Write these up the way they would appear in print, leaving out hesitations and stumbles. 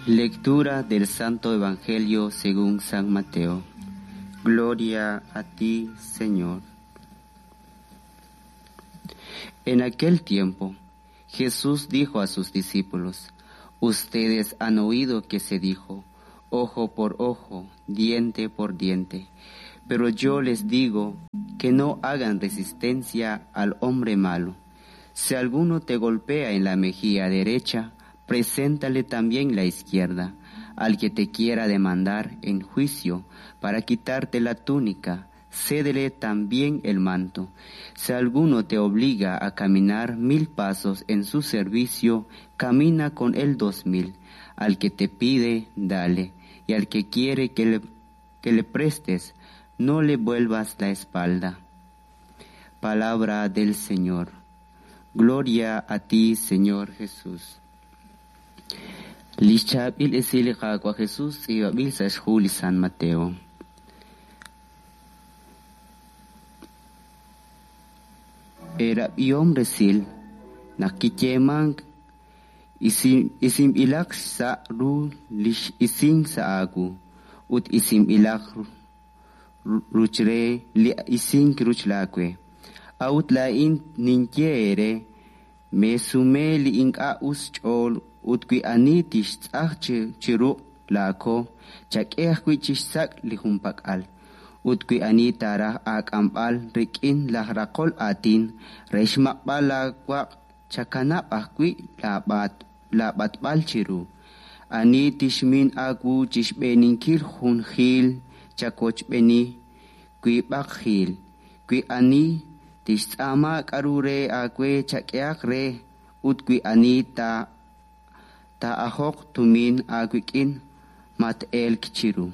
Lectura del Santo Evangelio según San Mateo. Gloria a ti, Señor. En aquel tiempo, Jesús dijo a sus discípulos, Ustedes han oído que se dijo, ojo por ojo, diente por diente. Pero yo les digo que no hagan resistencia al hombre malo. Si alguno te golpea en la mejilla derecha, preséntale también la izquierda. Al que te quiera demandar en juicio para quitarte la túnica, cédele también el manto. Si alguno te obliga a caminar 1000 pasos en su servicio, camina con él 2000. Al que te pide, dale, y al que quiere que le prestes, no le vuelvas la espalda. Palabra del Señor. Gloria a ti, Señor Jesús. Lix chaab'il esil li Qaawa' Jesús tz'iib'anb'il sa' xhu li San Mateo. Eerab'ihom resil naq kiyeemank isinb'ilaq xsa' ru li x'isink sa' aawu ut isinb'ilaq ruch re li isink ruch laawe. A'ut laa'in ninye eere, meesume li ink'a' us xch'ool ut wi ani tixtz'aj chi ruq' laako, chak'e ajwi' chixsak' li junpak'al. Ut wi ani taaraj aak'amb'al rik'in laj raqol aatin re xmaq'b'al laawaq' chakanab' ajwi' laab'atb'al chiru. Ani tixmin aawu chixb'eeninkil jun jiil chawochb'eeni wiib'aq jiil. Wi ani tixtz'aama k'aru re aawe chak'ehaq re, ut wi ani taa'ajoq tumin aawik'in mat-elk chiru.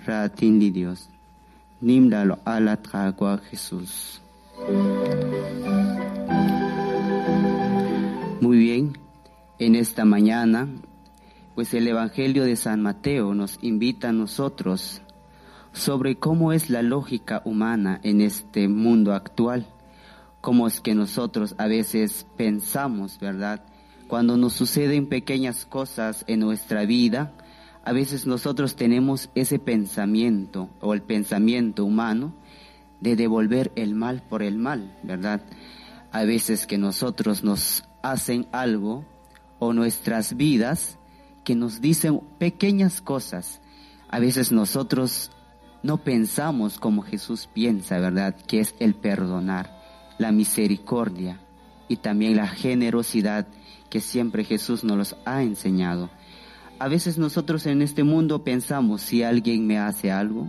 Raatin li Dios. Nim laaloq'al at Qaawa' Jesús. Muy bien, en esta mañana, pues el Evangelio de San Mateo nos invita a nosotros sobre cómo es la lógica humana en este mundo actual, cómo es que nosotros a veces pensamos, ¿verdad? Cuando nos suceden pequeñas cosas en nuestra vida, a veces nosotros tenemos ese pensamiento o el pensamiento humano de devolver el mal por el mal, ¿verdad? A veces que nosotros nos hacen algo o nuestras vidas que nos dicen pequeñas cosas. A veces nosotros no pensamos como Jesús piensa, ¿verdad? Que es el perdonar, la misericordia y también la generosidad que siempre Jesús nos los ha enseñado. A veces nosotros en este mundo pensamos, si alguien me hace algo,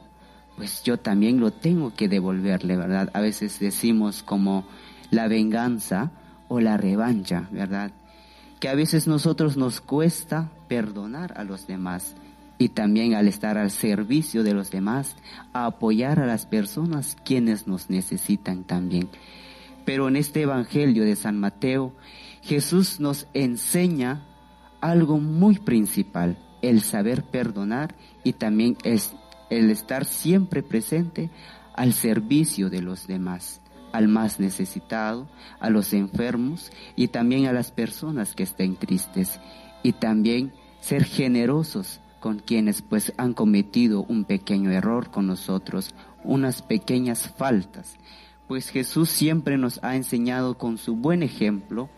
pues yo también lo tengo que devolverle, ¿verdad? A veces decimos como la venganza o la revancha, ¿verdad? Que a veces nosotros nos cuesta perdonar a los demás y también al estar al servicio de los demás, a apoyar a las personas quienes nos necesitan también. Pero en este Evangelio de San Mateo, Jesús nos enseña algo muy principal, el saber perdonar y también es el estar siempre presente al servicio de los demás, al más necesitado, a los enfermos y también a las personas que estén tristes, y también ser generosos con quienes pues han cometido un pequeño error con nosotros, unas pequeñas faltas. Pues Jesús siempre nos ha enseñado con su buen ejemplo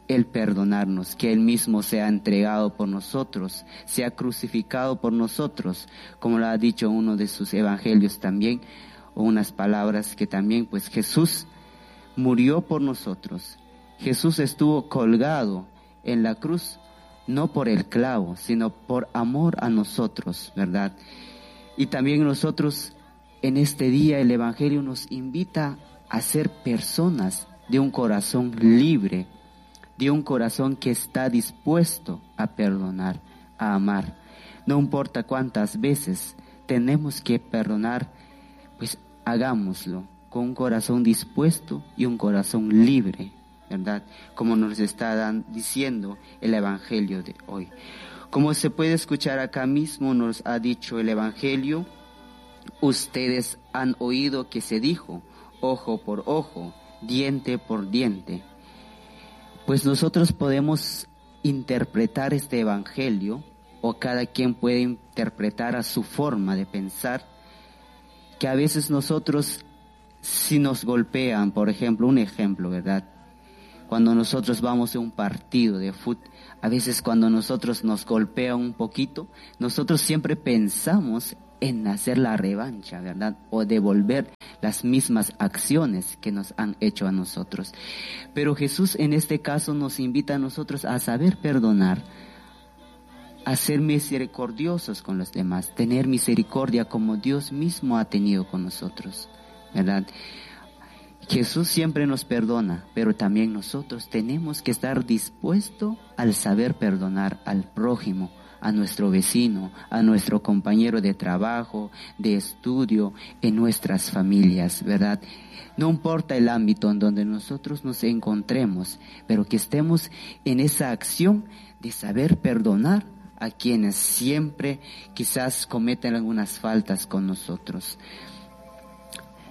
el perdonarnos, que Él mismo se ha entregado por nosotros, se ha crucificado por nosotros, como lo ha dicho uno de sus evangelios también, o unas palabras que también, pues Jesús murió por nosotros. Jesús estuvo colgado en la cruz, no por el clavo, sino por amor a nosotros, ¿verdad? Y también nosotros en este día el Evangelio nos invita a ser personas de un corazón libre, de un corazón que está dispuesto a perdonar, a amar. No importa cuántas veces tenemos que perdonar, pues hagámoslo con un corazón dispuesto y un corazón libre, ¿verdad? Como nos está diciendo el Evangelio de hoy. Como se puede escuchar acá mismo, nos ha dicho el Evangelio, ustedes han oído que se dijo, ojo por ojo, diente por diente. Pues nosotros podemos interpretar este evangelio, o cada quien puede interpretar a su forma de pensar, que a veces nosotros, si nos golpean, por ejemplo, un ejemplo, ¿verdad? Cuando nosotros vamos a un partido de fútbol, a veces cuando nosotros nos golpean un poquito, nosotros siempre pensamos en hacer la revancha, ¿verdad? O devolver las mismas acciones que nos han hecho a nosotros. Pero Jesús en este caso nos invita a nosotros a saber perdonar, a ser misericordiosos con los demás, tener misericordia como Dios mismo ha tenido con nosotros, ¿verdad? Jesús siempre nos perdona, pero también nosotros tenemos que estar dispuestos al saber perdonar al prójimo, a nuestro vecino, a nuestro compañero de trabajo, de estudio, en nuestras familias, ¿verdad? No importa el ámbito en donde nosotros nos encontremos, pero que estemos en esa acción de saber perdonar a quienes siempre quizás cometen algunas faltas con nosotros.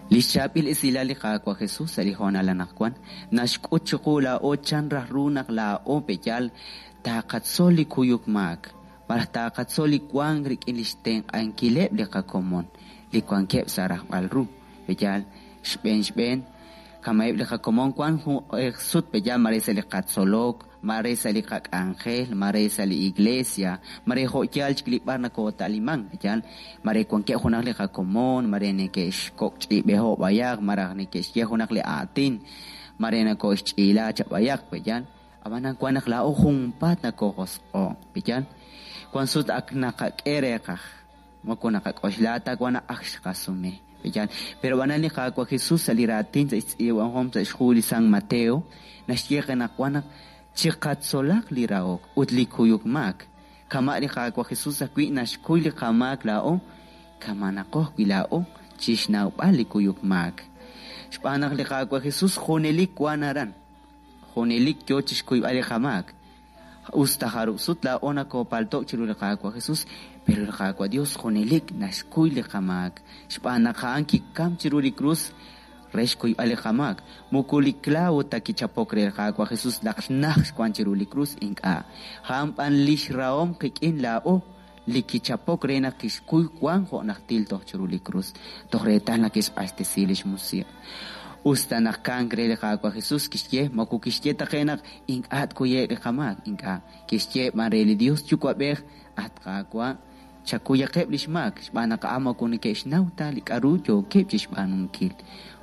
Li xchaab'il esilal li Qaawa' Jesus sa' li hoonal anaqwan naxk'ut chiqu laa'o chan raj ru naq laa'o peyal taqatzol li kuyuk maak malaj taqatzol li wank rik'in lix tenq'ankileb' li qakomon li wankeb' sa' rajb'al ru peyal xb'een xb'een kama'eb' li qakomon wan jun sut peyal mare sa' li qatzolok mare sa' li qak'anjel mare sa' li iglesia mare jo' yal chik li b'ar nakota'liman peyal mare wankeb' junaq li qakomon mare neke'xkok' b'ayaq maraj neke'xye junaq li aatin mare nako'xch'iila chab'ayaq peyal ab'anan wan naq laa'o junpaat nakojosq'o peyal wan sut ak naqak'e reeqaj moko naqak'oxla ta wan ak xqasume peyal pero b'anan li Qaawa' Jesus sa' li raatin sa' xtz'iib'ahom sa' xhu li San Mateo naxye qe naq wan naq chiqatzolaq li rahok ut li kuyuk maak kama' li Qaawa' Jesus ajwi' naxkuy li qamaak laa'o kamanaqo ajwi' laa'o chixnawb'al li kuyuk maak xb'aan naq li Qaawa' Jesus junelik wan aran junelik yo chixkuyb'al li qamaak usta jarub' sut laa'o nakopalto' chiru li Qaawa' Jesus pero li Qaawa' Dios junelik naxkuy li qamaak xb'aan naq a'an kikam chiru li krus re xkuyb'al li qamaak moko li clavo ta kichapok re li Qaawa' Jesus naq naj xwan chiru li krus ink'a' a'an b'an lix rahom qik'in laa'o li kichapok re naq kixkuy wan jo' najtil toj chiru li krus toj reetal naq kixq'axtesi lix musiq' usta naq kank re li Qaawa' Jesus kixye moko kixye ta qe naq ink'a' tkuye'k li qamaak ink'a' kixye b'an re li Dios Yuwa'b'ej at Qaawa' chakuyaqeb' lix maak xb'aan naq a'an moko neke'xnaw ta li k'a'ru yookeb' chixb'aanunkil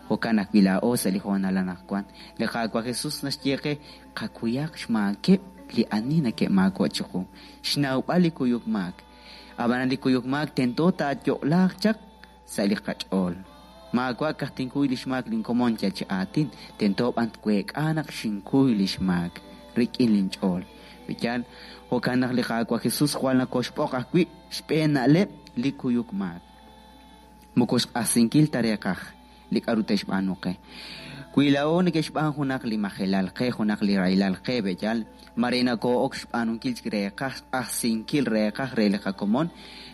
jo'kan ajwi' laa'o sa' li hoonal anaqwan li Qaawa' Jesus naxye qe qakuyaq xmaakeb' li ani neke'maako' chiqu xnawb'al li kuyuk maak ab'anan li kuyuk maak tento taayo'laaq chaq sa' li qach'ool maawa' kaj tinkuy lix maak linkomon yal chi aatin tento b'an tweek'a naq xinkuy lix maak rik'in linch'ool peyal jo'kan naq li Qaawa' Jesus jwal nakoxb'oq ajwi' xb'een na'leb' li kuyuk maak moko xq'ajsinkil ta reeqaj li k'a'ru te'xb'aanu qe wi laa'o neke'xb'aan junaq li majelal qe junaq li rahilal qe b'eyal mare nakoo'ok xb'aanunkil chik reeqaj xq'ajsinkil reeqaj re li qakomon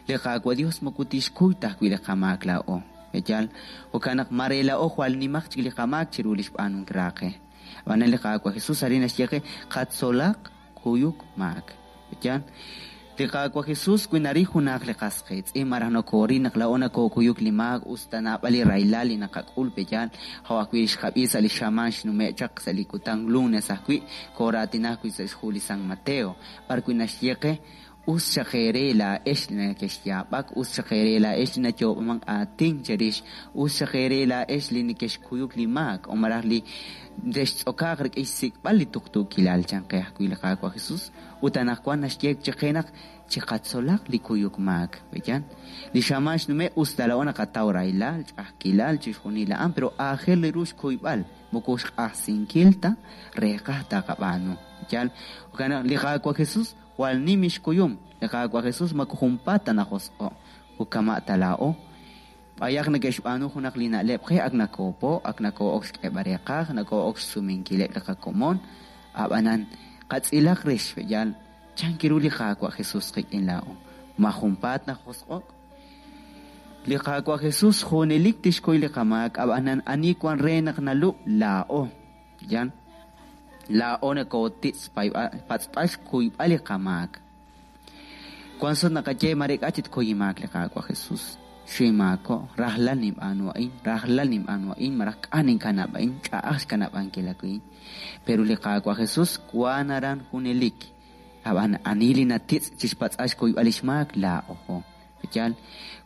li Qaawa' Dios moko tixkuy ta ajwi' li qamaak laa'o b'eyal jo'kan naq mare laa'o jwal nimaq chik li qamaak chiru li xb'aanunkil raaqe ab'anan li Qaawa' Jesus arin naxye qe qatzolaq kuyuk maak b'eyal li Qaawa' Jesus wi naril junaq li qas qiitz'in malaj nokooril naq laa'o nakookuyuk li maak usta naab'al li rahilal li naqak'ul b'eyal jo' ajwi' xqab'i sa' li xamaan xnume' chaq sa' li kutan lunes ajwi' kooraatina ajwi' sa' xhu li San Mateo b'ar wi' naxye qe us chaq eere laa'ex li nakexyaab'ak us chaq eere laa'ex li nayoob'aman aatin cherix us chaq eere laa'ex li nekexkuyuk li maak o malaj li textz'okaaq rik'in xsik'b'al li tuqtuukilal chan qe ajwi' li Qaawa' Jesus ut anaqwan naxye chiqe naq chiqatzolaq li kuyuk maak b'eyan li xamaan xnume' usta laa'o naqataw rahilal ch'a'ajkilal chixjunil a'an pero aajel ru xkuyb'al moko xq'ajsinkil ta reeqaj taqab'aanu yal jo'kan naq li Qaawa' Jesus jwal nim xkuyum li Qaawa' Jesus moko junpaat ta najosq'o' ut kama' ta laa'o b'ayaq neke'xb'aanu junaq li na'leb' qe ak nakoopo' ak nakoo'ok xk'eeb'al reeqaj nakoo'ok xsumenkileb' li qakomon ab'anan qatz'ilaq rix yal chan kiru li Qaawa' Jesus qik'in laa'o ma junpaat najosq'o'k li Qaawa' Jesus junelik tixkuy li qamaak ab'anan ani wan re naq nalub' laa'o yan. Laa'o nakotitz' patz'b'al xkuyb'al li qamaak. Wan sut naqaye mare k'a' chi tkuy inmaak li Qaawa' Jesus. Xinmaako', rajlal ninb'aanu a'in, rajlal ninb'aanu a'in, malaj k'a' ninkanab' a'in, ch'a'aj xkanab'ankil a'in. Pero li Qaawa' Jesus wan aran junelik. Ab'an ani li natitz' chixpatz'al xkuyb'al lix maak, laa'ojo. Yal,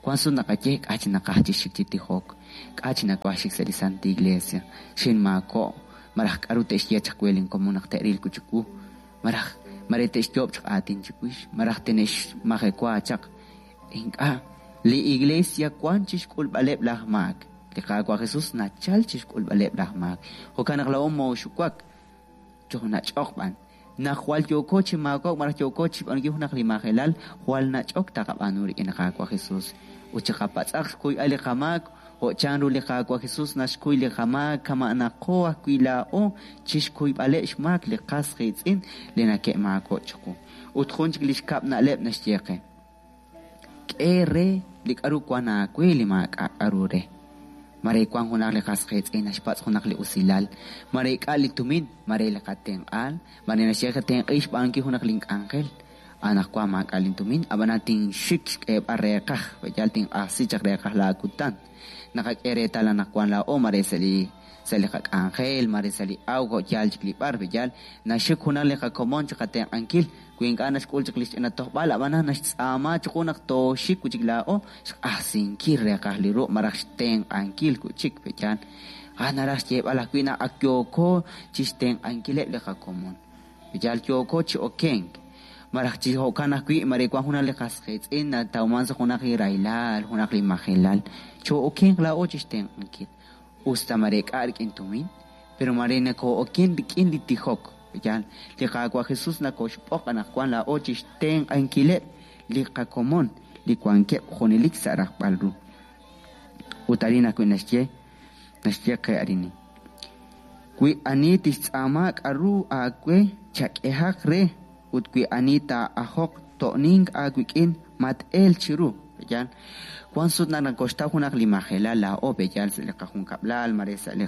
wan sut naqaye k'a' chi naqaj chi xik chi tijok, k'a' chi nawaj xik sa' li Santa Iglesia, xinmaako', malaj k'aru te'xye chaq we linkomon naq te'ril wi' chiwu, malaj mare te'xyoob' chaq aatin chiwix, malaj tine'xmajewa chaq. Ink'a', li iglesia wan chixk'ulb'aleb' laj maak. Li Qaawa' Jesus nachal chixk'ulb'aleb' laj maak. Jo'kan naq laa'o mooxuwak, chojnach'oq b'an. Naq jwal yooko chi maakok malaj yooko chi xb'aanunkil junaq li majelal, jwal nach'ok taqab'aanu rik'in li Qaawa' Jesus. Ut chiqapatz'aq xkuyb'al li qamaak, jo' chanru li Qaawa' Jesus naxkuy li qamaak kama'naqo ajwi' laa'o chixkuyb'aleb' xmaak li qas qiitz'in li nake'maako' chiqu. Ut jun chik li xkab' na'leb' naxye qe. K'e re li k'aru wan aawe li maak'a' k'aru re. Mare wan junaq li qas qiitz'in naxpatz' junaq li usilal, mare k'a' li tumin, mare li qatenq'aal, mare naxye qatenq'i xb'aanunkil junaq link'anjel. Anaqwan maak'a' lintumin, ab'anan tinxik xk'eeb'al reeqaj, yal tinq'ajsi chaq reeqaj laakutan. Naqak'e reetal anaqwan laa'o mare sa' li qak'anjel, mare sa' li awk, jo' yaal chik li b'ar, yal naxik junaq li qakomon chi qatenq'ankil, wi ink'a' naxk'ul chaq li xch'ina tojb'al, ab'anan naxtz'aama chiqu naq tooxik wi' chik laa'o xq'ajsinkil reeqaj li ruq' malaj xtenq'ankil wi' chik, yal. Naraj xyeeb'al ajwi' naq ak yooko chixtenq'ankileb' li qakomon. Yal yooko chi okenk. Malaj chi jo'kan ajwi' mare wan junaq li qas qiitz'in natawman sa' junaq li rahilal, junaq li majelal. Choo'okenq laa'o chixtenq'ankil. Usta mare k'a' rik'in tumin, pero mare nakoo'oken rik'in li tijok. Yal, li Qaawa' Jesus nakoxb'oq anaqwan laa'o chixtenq'ankileb' li qakomon li wankeb' junelik sa' rajb'al ru. Ut arin ajwi' naxye qe arini. Wi ani tixtz'aama k'aru aawe chak'ehaq re, ut wi ani taa'ajoq to'nink aawik'in mat-el chiru. Yal, wan sut naq nakoxtaw junaq li majelal laa'o, yal sa' li qajunkab'lal, mare sa' li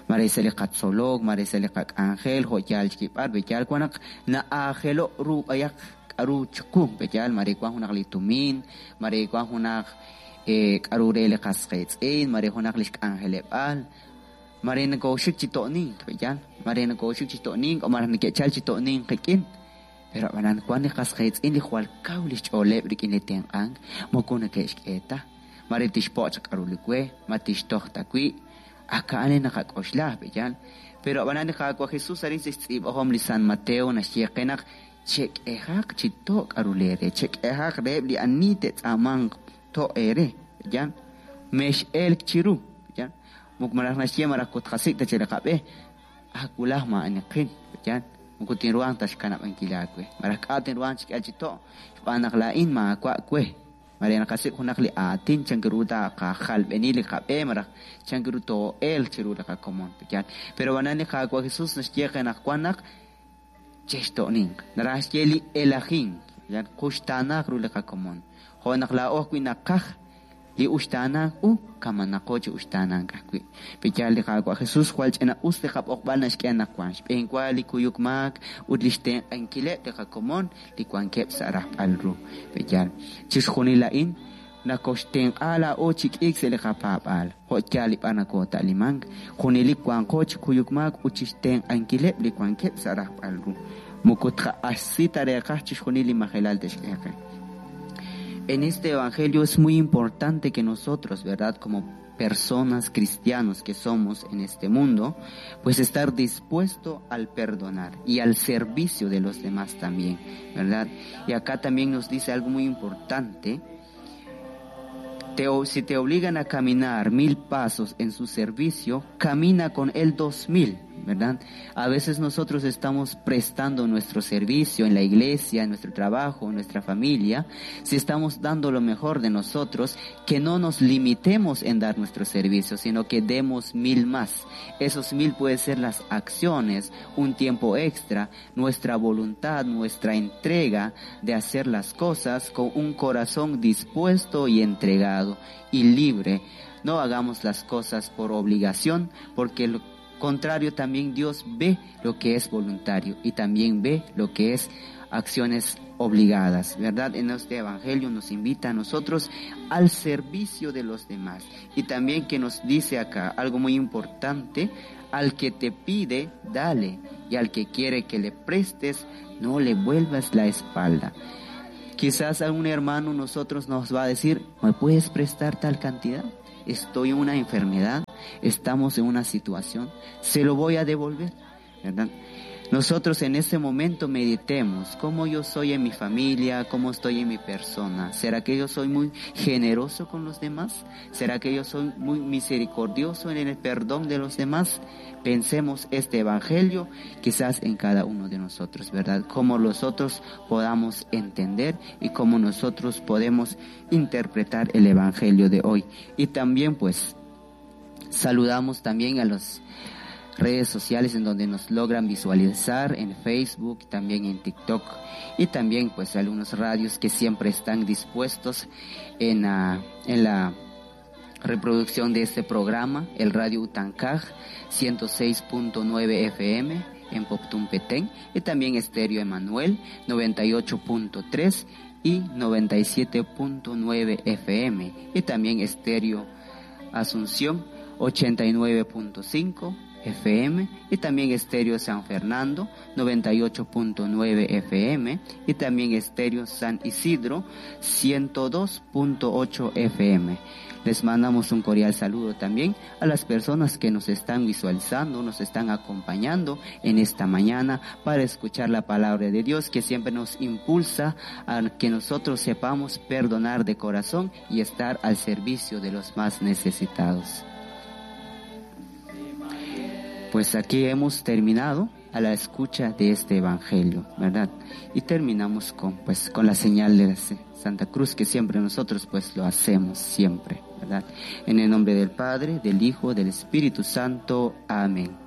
mare sa' li qatzolok, mare sa' li qak'anjel, jo' yaal chik b'ar, yal wan naq na'aajelo' ru b'ayaq k'aru chiqu, yal mare wan junaq li tumin, mare wan junaq k'aru re li qas qiitz'in, mare junaq li xk'anjeleb'al, mare nakooxik chi to'nink, yal, mare nakooxik chi to'nink o mare neke'chal chi to'nink qik'in. Pero ab'anan wan li qas qiitz'in li jwal kaw li xch'ooleb' rik'in li tenq'ank, moko neke'xk'e ta. Mare tixpo' chaq k'aru li we, ma tixtoj ta wi', aka'an naqak'oxla, yal. Pero ab'anan li Qaawa' Jesus arin sa' xtz'iib'ahom li San Mateo naxye qe naq chek'ehaq chi to' k'aru leere, chek'ehaq reheb' li ani te'tz'aamanq to' eere, yal. Mex'elk chiru, yal. Moko malaj naxye malaj kutqasik' ta chi li qab'e, awulaj ma'aniqin, yal. Moko tinruhanq ta xkanab'ankil aawe. Malaj k'a' tinruhanq chi k'el chi to', xb'aan naq laa'in maawa' we. Mare naqasik' junaq li aatin chan ru taqajalb'eni li qab'e, malaj chan ru too'elq chiru li qakomon, yal. Pero ab'anan li Qaawa' Jesus naxye qe naq wan naq chexto'ninq. Naraj xye li elajink, yal quxtaanaaq ru li qakomon. Jo' naq laa'o ajwi' naqaj li uxtaanaaq u, kamanaqo chi uxtaanaaq ajwi'. Yal li Qaawa' Jesus jwal ch'ina us li qab'oqb'al naxk'e anaqwan. Xb'eenwa li kuyuk maak ut li xtenq'ankileb' li qakomon li wankeb' sa' rajb'al ru. Yal, chixjunil a'in nakoxtenq'a laa'o chi k'iik sa' li qapaab'aal. Jo' yaal li b'ar nakoota'limank, junelik wanqo chi kuyuk maak ut chixtenq'ankileb' li wankeb' sa' rajb'al ru. Moko tqa'axsi ta reeqaj chixjunil li majelal te'xk'e qe. En este evangelio es muy importante que nosotros, ¿verdad?, como personas cristianos que somos en este mundo, pues estar dispuesto al perdonar y al servicio de los demás también, ¿verdad? Y acá también nos dice algo muy importante. Si te obligan a caminar 1000 pasos en su servicio, camina con él 2000, ¿verdad? A veces nosotros estamos prestando nuestro servicio en la iglesia, en nuestro trabajo, en nuestra familia. Si estamos dando lo mejor de nosotros, que no nos limitemos en dar nuestro servicio, sino que demos 1000 más. Esos 1000 pueden ser las acciones, un tiempo extra, nuestra voluntad, nuestra entrega de hacer las cosas con un corazón dispuesto y entregado y libre. No hagamos las cosas por obligación, porque Contrario, también Dios ve lo que es voluntario y también ve lo que es acciones obligadas, ¿verdad? En este Evangelio nos invita a nosotros al servicio de los demás. Y también que nos dice acá algo muy importante, al que te pide, dale, y al que quiere que le prestes, no le vuelvas la espalda. Quizás algún hermano nosotros nos va a decir, ¿me puedes prestar tal cantidad? Estoy en una enfermedad, estamos en una situación, se lo voy a devolver, ¿verdad? Nosotros en ese momento meditemos cómo yo soy en mi familia, cómo estoy en mi persona. ¿Será que yo soy muy generoso con los demás? ¿Será que yo soy muy misericordioso en el perdón de los demás? Pensemos este evangelio quizás en cada uno de nosotros, ¿verdad? Cómo nosotros podamos entender y cómo nosotros podemos interpretar el evangelio de hoy. Y también pues saludamos también a los redes sociales en donde nos logran visualizar en Facebook, también en TikTok y también pues algunos radios que siempre están dispuestos en la reproducción de este programa, el Radio Utancaj 106.9 FM en Poptún Petén y también Estéreo Emanuel 98.3 y 97.9 FM y también Estéreo Asunción 89.5 FM y también Estéreo San Fernando 98.9 FM y también Estéreo San Isidro 102.8 FM. Les mandamos un cordial saludo también a las personas que nos están visualizando, nos están acompañando en esta mañana para escuchar la palabra de Dios que siempre nos impulsa a que nosotros sepamos perdonar de corazón y estar al servicio de los más necesitados. Pues aquí hemos terminado a la escucha de este evangelio, ¿verdad? Y terminamos con, pues, con la señal de la Santa Cruz que siempre nosotros pues lo hacemos siempre, ¿verdad? En el nombre del Padre, del Hijo, del Espíritu Santo. Amén.